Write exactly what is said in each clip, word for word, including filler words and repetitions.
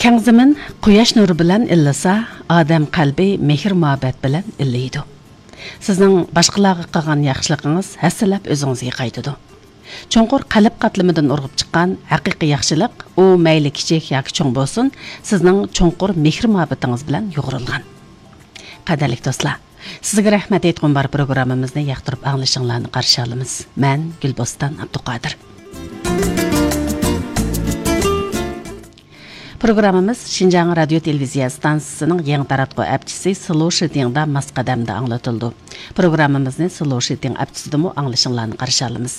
يەڭ زېمىن قۇياش نۇرى بىلەن ئىللىسا، ئادەم قەلبى مېھىر-مۇھەببەت بىلەن ئىللىيدۇ. سىزنىڭ باشقىلارغا قىلغان ياخشىلىقىڭىز ھەسسىلەپ ئۆزىڭىزگە قايتىدۇ. چوڭقۇر قەلب قاتلىمىدىن ئۇرغۇپ چىققان ھەقىقىي ياخشىلىق، ئۇ مەيلى كىچىك ياكى چوڭ بولسۇن، سىزنىڭ چوڭقۇر مېھىر-مۇھەببىتىڭىز بىلەن يۇغۇرۇلغان. قەدىرلىك دوستلار، سىزگە رەھمەت ئېيتقۇم بار پروگراممىمىزنى ياقتۇرۇپ ئاڭلىشىڭلارنى قارشى ئالىمىز. مەن گۈلبوستان ئابدۇقادىر. پروگراممىمىز شىنجاڭ رادىيو تېلېۋىزىيە ئىستانسىسىنىڭ يېڭى تاراتقۇ ئەپچىسى سلو شىتىڭدا ماس قەدەمدە ئاڭلىتىلىدۇ. پروگراممىمىزنى سلو شىتىڭ ئەپچىسىدىمۇ ئاڭلىشىڭلارنى قارشى ئالىمىز.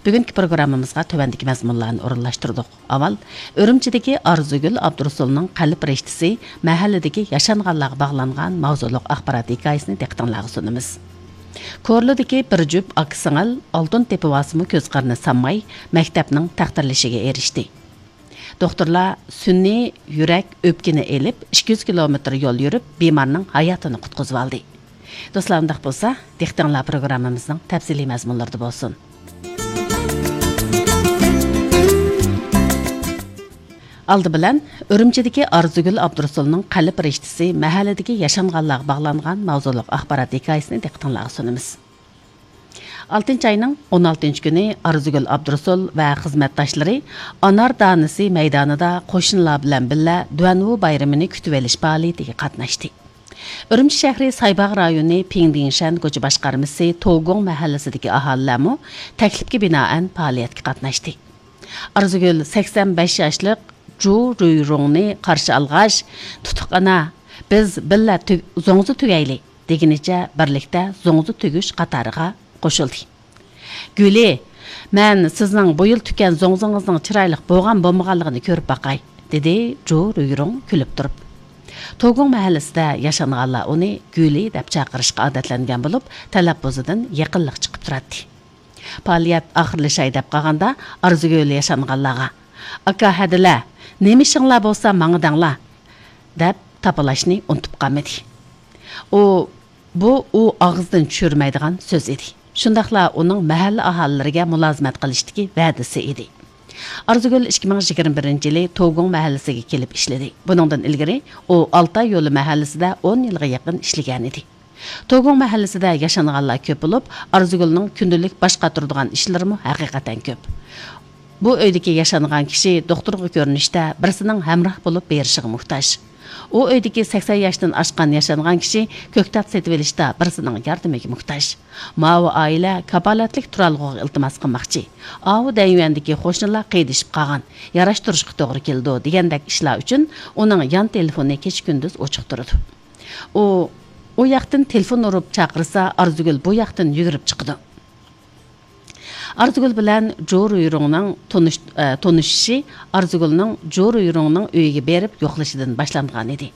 بۈگۈنكى پروگراممىمىزغا تۆۋەندىكى مەزمۇنلارنى ئورۇنلاشتۇردۇق. ئاۋۋال، ئۈرۈمچىدىكى ئارزۇگۈل ئابدۇرۇسۇلنىڭ قەلب رىشتىسى مەھەللىدىكى ياشانغانلارغا باغلانغان ماۋزۇلۇق ئاخبارات ھېكايىسىنى دىققىتىڭلارغا سۇنىمىز. كورلىدىكى بىر جۈپ ئاكا-سىڭىل ئالتۇن تېپىۋالسىمۇ كۆز قىرىنى سانماي، مەكتەپنىڭ تەقدىرلىشىگە ئېرىشتى. دوختۇرلار سۈنئىي يۈرەك ئۆپكىنى ئېلىپ، ئىككى يۈز كىلومېتىر يول يۈرۈپ، بىمارنىڭ ھاياتىنى قۇتقۇزۇۋالدى. دوستلار، ئۇنداق بولسا، دىققىتىڭلار پروگراممىمىزنىڭ تەپسىلىي مەزمۇنلىرىدا بولسۇن. ئالدى بىلەن، ئۈرۈمچىدىكى ئارزۇگۈل ئابدۇرۇسۇلنىڭ قەلب رىشتىسى مەھەللىدىكى ياشانغانلارغا باغلانغان ماۋزۇلۇق ئاخبارات ھېكايىسىنى دىققىتىڭلارغا سۇنىمىز. ئالتىنچى ئاينىڭ ئون ئالتىنچى كۈنى ئارزۇگۈل ئابدۇرۇسۇل ۋە خىزمەتداشلىرى ئانار دانىسى مەيدانىدا قوشنىلار بىلەن بىللە دۇەنۋۇ بايرىمىنى كۈتۈۋېلىش پائالىيىتىگە قاتناشتى. ئۈرۈمچى شەھىرى سايباغ رايونى پىڭدىڭشەن كوچا باشقارمىسى توگۇڭ مەھەللىسىدىكى ئاھالىلەرمۇ تەكلىپكە بىنائەن پائالىيەتكە قاتناشتى. ئارزۇگۈل سەكسەن بەش ياشلىق جۇ رۇيرۇڭنى قارشى ئالغاچ، «تۇتۇق ئانا، بىز بىللە تۈگ-، زوڭزا تۈگەيلى» دېگىنىچە بىرلىكتە زوڭزا تۈگۈش قاتارىغا قوشۇلدى. «گۈلى، مەن سىزنىڭ بۇ يىل تۈككەن زوڭزىڭىزنىڭ چىرايلىق بولغان بولمىغانلىقىنى كۆرۈپ باقاي»، دېدى جۇ رۇيرۇڭ كۈلۈپ تۇرۇپ. توگۇڭ مەھەللىسىدە ياشانغانلار ئۇنى گۈلى دەپ چاقىرىشقا ئادەتلەنگەن بولۇپ، تەلەپپۇزىدىن يېقىنلىق چىقىپ تۇراتتى. پائالىيەت ئاخىرلىشاي دەپ قالغاندا، ئارزۇگۈل ياشانغانلارغا، «ئاكا ھەدىلە، نېمە ئىشىڭلار بولسا ماڭا دەڭلار» دەپ تاپىلاشنى ئۇنتۇپ قالمىدى. ئۇ، بۇ ئۇ ئاغزىدىن چۈشۈرمەيدىغان سۆز ئىدى. شۇنداقلا ئۇنىڭ مەھەللە ئاھالىلىرىگە مۇلازىمەت قىلىشتىكى ۋەدىسى ئىدى. ئارزۇگۈل ئىككى مىڭ يىگىرمە بىرىنچى يىلى توگۇڭ مەھەللىسىگە كېلىپ ئىشلىدى. بۇنىڭدىن ئىلگىرى ئۇ ئالتاي يولى مەھەللىسىدە ئون يىلغا يېقىن ئىشلىگەنىدى. توگۇڭ مەھەللىسىدە ياشانغانلار كۆپ بولۇپ، ئارزۇگۈلنىڭ كۈندىلىك باش قاتۇرىدىغان ئىشلىرىمۇ ھەقىقەتەن كۆپ. بۇ ئۆيدىكى ياشانغان كىشى دوختۇرغا كۆرۈنۈشتە بىرسىنىڭ ھەمراھ بولۇپ بېرىشىغا موھتاج. ئۇ ئۆيدىكى سەكسەن ياشتىن ئاشقان ياشانغان كىشى كۆكتات سېتىۋېلىشتا بىرسىنىڭ ياردىمىگە موھتاج. ماۋۇ ئائىلە كاپالەتلىك تۇرالغۇغا ئىلتىماس قىلماقچى. ئاۋۇ دەيۋەندىكى قوشنىلار قىيدىشىپ قالغان، ياراشتۇرۇشقا توغرا كېلىدۇ دېگەندەك ئىشلار ئۈچۈن ئۇنىڭ يان تېلېفونى كېچە-كۈندۈز ئوچۇق تۇرىدۇ. ئۇ، ئۇ ياقتىن تېلېفون ئۇرۇپ چاقىرسا، ئارزۇگۈل بۇ ياقتىن يۈگۈرۈپ چىقىدۇ. ئارزۇگۈل بىلەن جۇ رۇيرۇڭنىڭ تونۇش-، ئە، تونۇشۇشى ئارزۇگۈلنىڭ جۇ رۇيرۇڭنىڭ ئۆيىگە بېرىپ يوقلىشىدىن باشلانغانىدى.